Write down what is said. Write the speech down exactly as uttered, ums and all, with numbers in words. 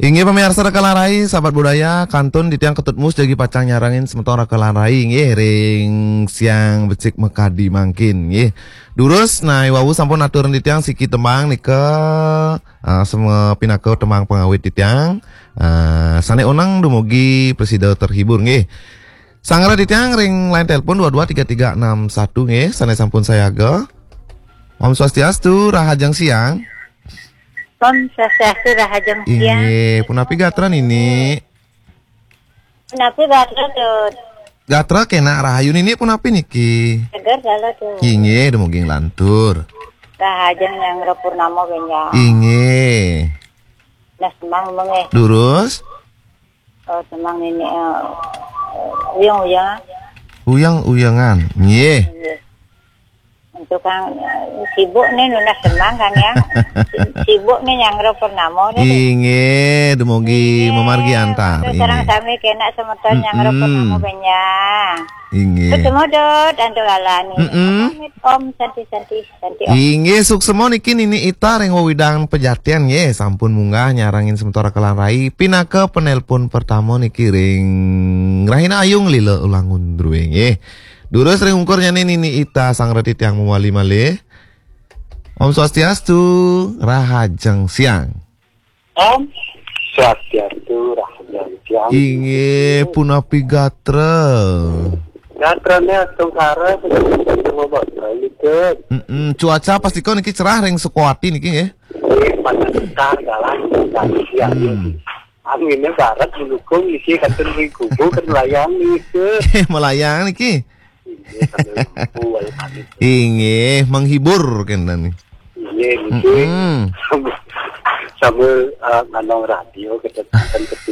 Inggih pamiarsa Raka lan Rai, sahabat budaya, kantun titiang Ketut Mus jagi pacang nyarengin semeton Raka lan Rai, inggih ring siang becik makadi mangkin, inggih. Durus, nah, i wau sampun aturin titiang siki tembang nika, ah, sama pinaka tembang pangawit titiang. Ah, sane oneng dumugi prasida terhibur, inggih. Sanggra titiang ring line telepon dua dua tiga tiga enam satu, inggih, sane sampun sayaga. Om Swastiastu, rahajeng siang. Om Swastiastu, rahajeng siang. Inggih, punapi gatra Nini? Punapi gatra, Tut? Gatra kenak rahayu Nini, punapi niki? Seger dalu, Tut. Inggih, dumugi nglantur. Rahajeng nyanggra purnama benjang. Inggih. Nah, semang mengeh. Durus? Oh, semang Nini, eh, uyang-uyang. Uyang-uyangan. Inggih. Inggih. Untuk kang, eh, sibuk nih nunas semang kan ya. Sibuk nih nyanggra purnama nih. Inggih, dumugi mamargi antar. Sareng sami kenak semeton nyanggra purnama benjang. Inggih. Ketemu Dut, antuk alani. Mm-mm. Pamit, Om, santi-santi, santi, Om. Inggih, suksema niki Nini Ita ring wewidangan Pejatian, nggih, sampun munggah nyarengin semeton Raka lan Rai pinaka penelpon pertama niki ring Rahina Ayu Lila Ulangun Druwe, nggih. Durus ring ungkurnyane Nini Ita, sanggra titiang mawali malih. Om Swastiastu, rahajeng siang. Om Swastiastu, rahajeng siang. Inggih, punapi gatra? Gatrane astungkara, sedang coba balik. Mm-mm, cuaca pastika niki cerah ring Sukawati niki, nggih. Nggih, panas sekar, galang, galang siang. Hmm. Angine barat mendukung, iki kantun ring kubu kan melayang niki. Melayang niki. Inggih, sambil lembu, ayo pamit. Inggih, menghibur kenten nih. Inggih, niki. Mm-mm. Sambil, sambil, eh, nganong radio, kita kan ketemu